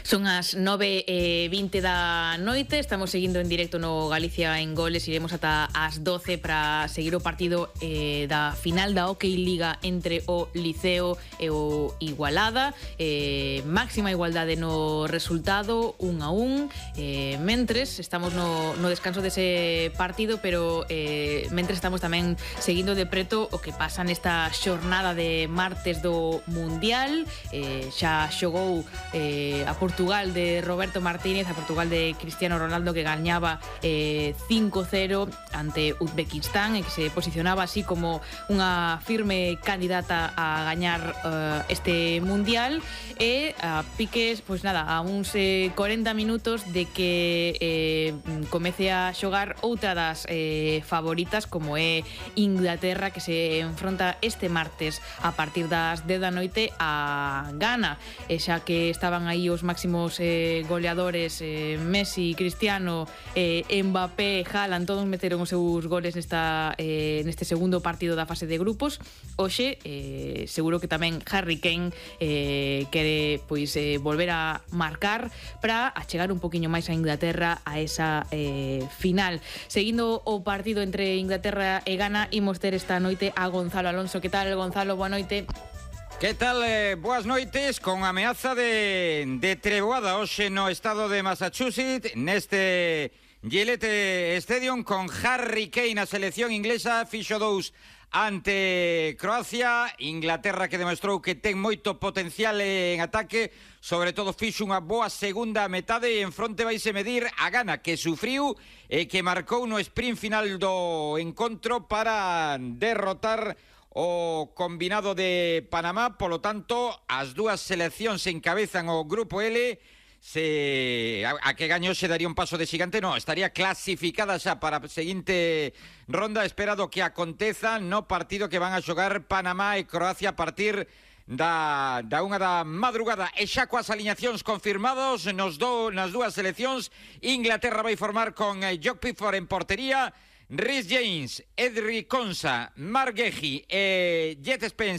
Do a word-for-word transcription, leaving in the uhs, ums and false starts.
Son as nove e vinte da noite, estamos seguindo en directo no Galicia en Goles, iremos ata as doce para seguir o partido eh, da final da Hockey Liga entre o Liceo e o Igualada, eh, máxima igualdade no resultado, un a un, eh, mentres estamos no, no descanso dese partido, pero eh, mentres estamos tamén seguindo de preto o que pasa nesta xornada de martes do Mundial. eh, xa xogou eh, a Portugal de Roberto Martínez, a Portugal de Cristiano Ronaldo, que gañaba eh, cinco cero ante Uzbekistán e que se posicionaba así como unha firme candidata a gañar uh, este Mundial, e a piques, pois nada, a uns eh, cuarenta minutos de que eh, comece a xogar outra das eh, favoritas, como é Inglaterra, que se enfronta este martes a partir das dez da noite a Ghana, e xa que estaban aí os máximos eh, goleadores, eh, Messi, Cristiano, eh, Mbappé, Haaland, todos meteron os seus goles nesta, eh, neste segundo partido da fase de grupos. Hoxe, eh, seguro que tamén Harry Kane eh, quere pois eh, volver a marcar para achegar un poquinho máis a Inglaterra a esa eh, final. Seguindo o partido entre Inglaterra e Ghana, imos ter esta noite a Gonzalo Alonso. Que tal, Gonzalo? Boa noite. Que tal? Eh, boas noites. Con ameaza de, de treboada hoxe no estado de Massachusetts, neste Gillette Stadium, con Harry Kane, a selección inglesa fixo dous ante Croacia. Inglaterra, que demostrou que ten moito potencial en ataque, sobre todo fixo unha boa segunda metade, e en fronte vaise medir a Ghana, que sufriu e que marcou no sprint final do encontro para derrotar o combinado de Panamá. Polo tanto, as dúas seleccións encabezan o grupo L. Se a, a que gañou se daría un paso de xigante, no, estaría clasificada xa para a seguinte ronda, esperado que aconteza no partido que van a xogar Panamá e Croacia a partir da, da unha da madrugada. E xa coas aliñacións confirmados nos do, nas dúas seleccións, Inglaterra vai formar con eh, Jock Pickford en portería, Rhys James, Edric Konsa, Mark Gehi e Jet Spence